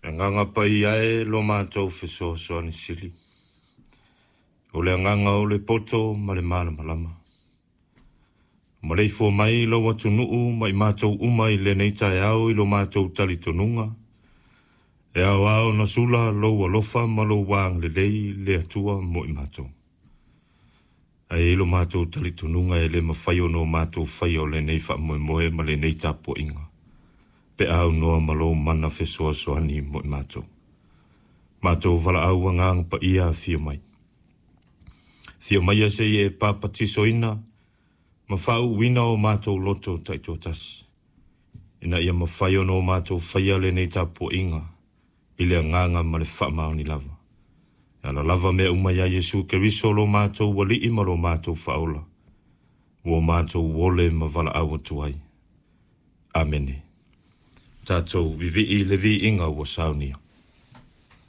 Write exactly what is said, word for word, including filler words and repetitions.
Le Agaga Paia e lo matou fesoasoani sili, o le Agaga o le poto ma le malamalama. Maleifua mai lou atunuu ma i matou uma i lenei taeao i lo matou talitonuga, e aoao ona sula lou alofa ma lou agalelei le Atua mo i matou. Ae i lo matou talitonuga e le mafai ona o matou faia o lenei faamoemoe ma lenei tapuaiga, pe a aunoa ma lou mana fesoasoani mo i matou. Matou valaau Agaga Paia afio mai. Afio maia se i e papatisoina ma faauuina o matou loto taitoatasi, ina ia mafai ona o matou faia lenei tapuaiga i le agaga ma le faamaoni lava. E ala lava mea uma ia Iesu Keriso lo matou Alii ma lo matou Faaola, ua matou ole ma valaau atu ai. Amene. Tatou vivii le viiga ua saunia.